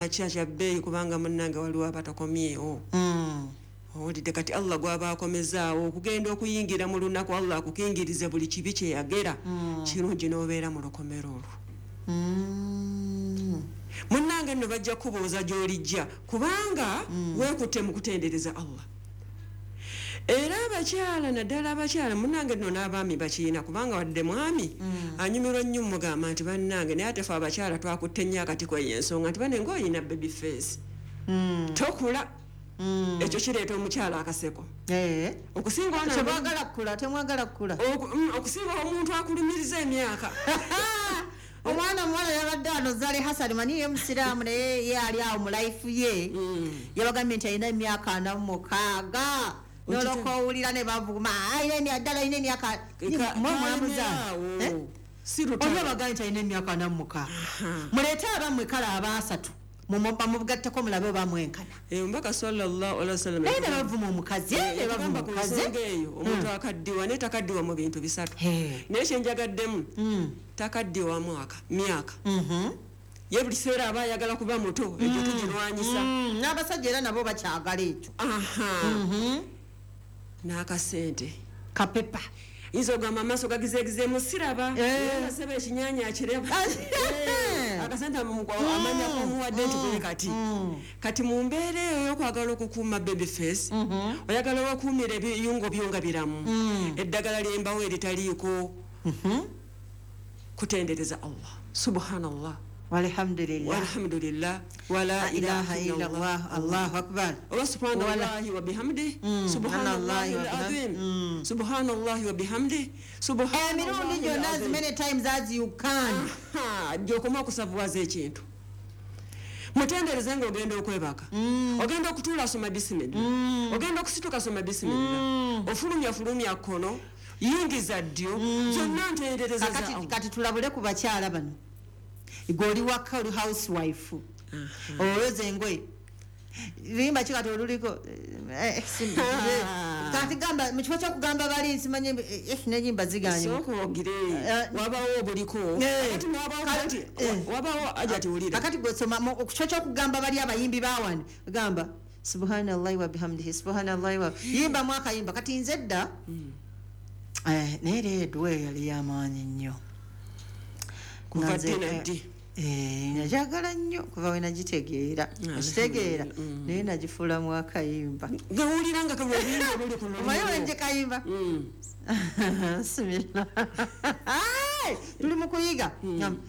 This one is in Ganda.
Makya kya bbeeyi, kubanga munnange waliwo abatakomyewo. Owulidde? Kati Allah gwaba akomezaawo okugenda okuyingira mu lunaku, Allah akukingirize buli kibi kyeyagera. Kirungi n'obeera mu lukomero olwo. Munnange nno bajja kubuuza gy'olijja, kubanga weekutte mu kutendereza Allah. Era abakyala, naddala abakyala, munnange nno n'abaami bakiina, kubanga wadde mwami anyumirwa nnyo mugamba nti bannange, naye ate fe abakyala twakutte nnyo akati kweyo ensonga nti bane ngaoyina baby face, tokula. Ekyo kireeta omukyala akaseko. Okusinga ono Temwagala kukula, temwagala kukula. Okusinga omuntu akulumiriza emyaka. Omwana omuwala yabadde wano, Zale Hassan, manyi ye musiraamu, naye ye ali awo mu life ye. Yabagambye nti alina emyaka 46, noloka owulira ne bavuma, "Alina ddala alina emyaka mwe mwamuza." Kalemerawo. Eh? Si Oli lutalo. abagambye nti alina emyaka 46. Muleete abammwe kale abaasatu, bamugatteko mulabe oba mwenkana. Omubaka sallallahu alaihi wasallam Naye ne bavuma omukazi, eh, ne bavuma yatugamba ku omukazi. nsonga eyo, omuntu akaddiwa, naye takaddiwa mu bintu bisatu. Naye kyenjagaddemu, takaddiwa mwaka, myaka. Ye buli kiseera aba ayagala kuba muto. Ekyo tugirwanyisa. N'abasajja era nabo bakyagala ekyo. Aha, n'akasente. Kapepa. Yinza okugamba amaaso gagizeegizeemu, siraba. Naye nga seba ekinyanya akireba. Akasente amanya komuwadde nti bwe kati. Kati mu mbeera eyo y'okwagala okukuuma baby face, oyagala wakuumira ebiyungo byo nga biramu, eddagala lyembawo eritaliiko kutendereza Allah, subhanallah, walhamdulillah, walhamdulillah, wala la ilaha illallah, allahu akbar. Oba subhanallahi wa bihamdi, subhanallahi Subhanallahi wa alazim, subhanallahi wa bihamdi. Emirundi gyonna, as many times as you can. Gyokoma okusavuwaza ekintu, mutendereze ngaogenda okwebaka, ogenda okutuula, soma bisimilla, ogenda okusituka, soma bisimilla, ofulumya, fulumya kkono, yingiza ddyo, zonna ntendereza za Kakati Allah. Kati tulabule ku bakyala bano. Gwe oli waka, oli housewife, olwoza engoye, luyimba ki kati oluliko? Kati gamba, mu kifo kyokugamba bali nsimanye nenyimba ziganye. Sooka ogire. Wabawo obuliko. Kati wabawo nti wabawo aja tiwulira. Kakati gwesoma ku kifo kyokugamba bali abayimbi bawano, gamba subhanallahi wa bihamdihi, subhanallahi wa, yimbamu akayimba. Kati nze dda, naye era edduwa eyo yali yamaanyi nnyo. Kuva Nga nze, ddi na ddi? Najagala nnyo kuva we nagitegeera. Okitegeera? Naye nagifuulamu akayimba. Gawulira nga kaluyimba oluli ku Omanyi wenje kayimba? Bismillah. Ai, tuli mu kuyiga.